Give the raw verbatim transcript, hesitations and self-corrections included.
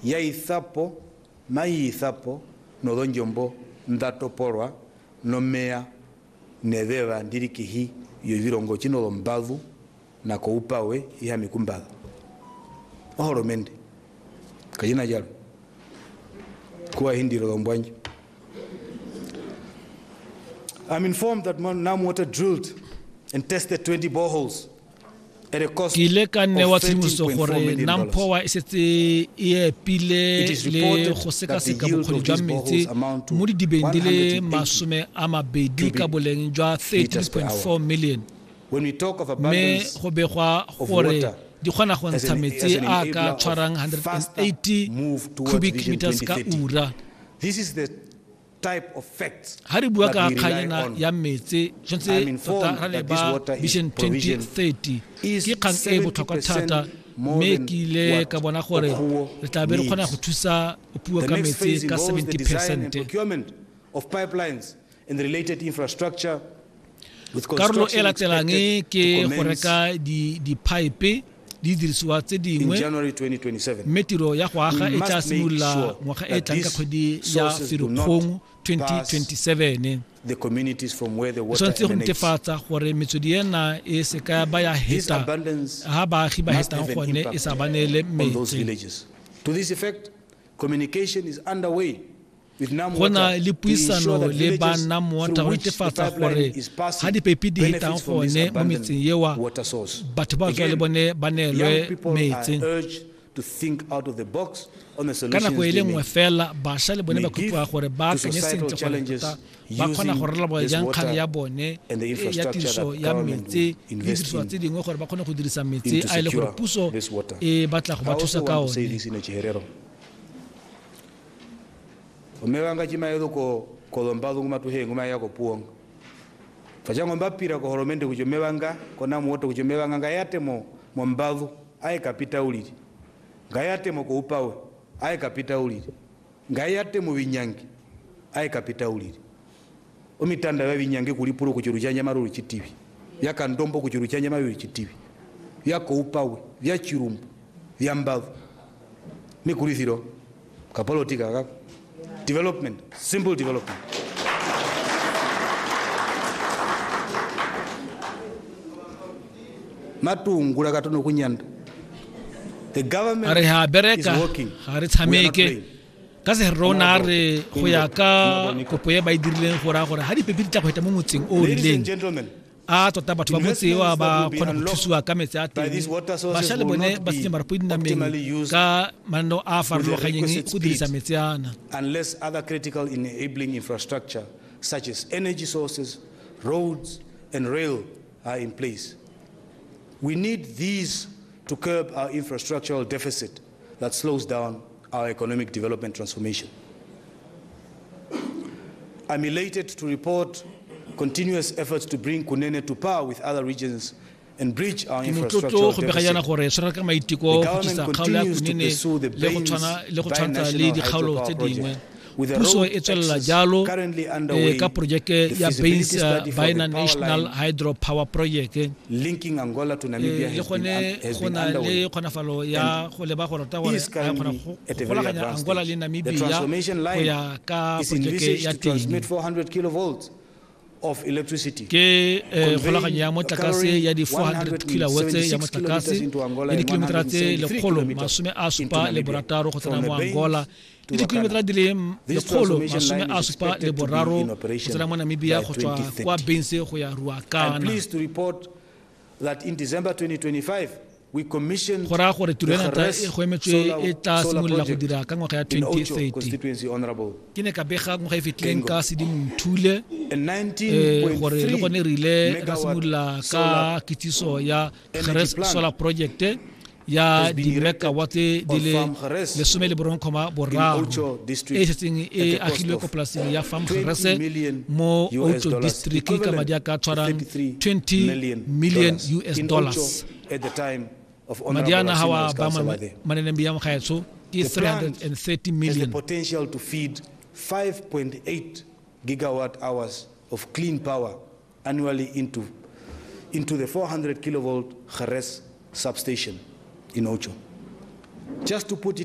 Ya ithapo mayiithapo nodhondjombo ndatopolwa nomeya neveva ndirikihi yovilongo chino lombavu na koupawe iha mikumbadha oholomende kajina jalo kuwa hindiro lombwanjo. I'm informed that NamWater drilled and tested twenty boreholes. Ke ile ka newa tshedimosetso gore NamPower e setse e epile le go sekaseka bokgoni jwa metsi mo didibeng di le masome a mabedi ka boleng jwa thirteen point four million, mme go begwa gore di kgona go ntsha metsi a ka tshwarang one hundred eighty cubic meters ka ura. Ha re bua ka kganyana ya metsi, tshwanetse tota ra leba Vision twenty thirty, ke kgang e botlhokwa thata, mme ke ile ka bona gore re tla be re kgona go thusa Opuwo ka metsi ka seventy percent. Karolo e latelang ke go reka di-pipe di dirisiwa tse dingwe, mme tiro ya go aga e tla simolola ngwaga e tlang ka kgwedi ya Ferikgong twenty twenty-seven. Re tshwanetse go netefatsa gore metswedi ena e se ka ba ya heta ha baagi ba hetang gone e sa ba neele metsi. Go na le puisano le ba NamWater go netefatsa gore ha dipeipi di hetang gone mo metseng eo, batho ba tswa le bone ba neelwe metsi. Ka nako e le nngwe fela, bašwa le bone ba kopiwa gore ba akanye sentle gore tota ba kgona go rarabolola jang kgang ya bone ya tiriso ya metsi le didirisiwa tse dingwe gore ba kgone go dirisa metsi a e le gore puso e batla go ba thusa ka one. Omewanga chimaedo ko kolombadu ngumatuhe nguma ya ko puong. Fajango mbapira ko holomende kuchomewanga ko NamWater kuchomewanga ngayate mo mombadu aye kapita uliri. Ngayate mo ko upawe aye kapita uliri. Ngayate mo binyangi aye kapita uliri. Omitanda ya binyangi kulipuro kuchuru cha nyamaru chitivi. Yakandombo kuchuru cha nyamaru chitivi. Yako upawe vya chirumbu vya mbadu. Mikulithiro kapolotika kako. Development, simple development. Matungula katono kunyanda. The government Re ha is bereka, working. ga re tshameke. Ka se rona re go ya ka kopo e ba e dirileng go raya gore ha dipepi di tla go heta mo motseng o o Ladies and rileng, gentlemen, a tota batho ba motse eo ba kgona go thusiwa ka metsi a teng. Bašwa le bone ba senya marapo dinameng ka mananeo a a farologaneng go dirisa metsi ana. Unless other critical enabling infrastructure such as energy sources, roads and rail are in place. We need these to curb our infrastructural deficit that slows down our economic development transformation. I'm elated to report continuous efforts to bring Kunene to par with other regions and bridge our Ke motlotlo infrastructural go bega jaana deficit. gore tshwara ka maiteko The go tlisa government kgaolo ya continues to Kunene pursue the le go Baines tshwana le go tshwantsha le Binational dikgaolo tse Hydropower dingwe. Project, with the Puso road e tswelela access jalo currently underway, eh, ka projeke the ya feasibility Baines study for the Bina power National line Hydropower Project. linking Angola to Namibia Eh, le has been, gone un- has go been na le underway kgonafalo ya go leba gore tota gore is a kgona currently go at a very golaganya advanced Angola stage. le The Namibia transformation go line ya ka is projeke envisaged ya to transmit teng. four hundred kilovolts of electricity, Ke eh, conveying kgolaganyo ya motlakase covering ya di four hundred kilowatts ya one hundred seventy-six motlakase kilometers into Angola le and dikilometera tse one hundred seventy-three lekgolo kilometers masome a into supa le Namibia. borataro go tsena From mo the Baines Angola to le dikilometera Ruacana. di le This lekgolo transformation masome line a is supa le expected to be boraro in go operation tsena mo Namibia by go tswa twenty thirty. kwa Baines go ya I'm Ruacana. pleased to report that in December twenty twenty-five, we commissioned Go raya gore tiro the ena ta Geres e go emetswe solar, e tla solar simolola go project dira ka ngwaga ya in twenty Ocho thirty. constituency, Honorable Ke ne ka bega ngwaga e fetileng Gengo. ka Sedimonthole And eh, gore le gone re ile ra nineteen point three simolola megawatt ka solar kitsiso ya energy Geres plant Solar Project ya has been erected di-megawatt di on le Farm Geres lesome le borong comma in boraro Ocho e district setseng at e a cost agilwe of ko polaseng ya Farm twenty Geres million mo U S Ocho dollars, district ka equivalent madi a ka to tshwarang thirty-three twenty million million dollars U S in dollars. Ocho at the time of Madi Honorable ana ha wa Asino ba Oscar maneneng ya mogaetsho ke The three plant hundred and thirty has the million. potential to feed five point eight gigawatt hours of clean power annually into, into the four hundred kilovolt Geres substation in Ocho. Just to put it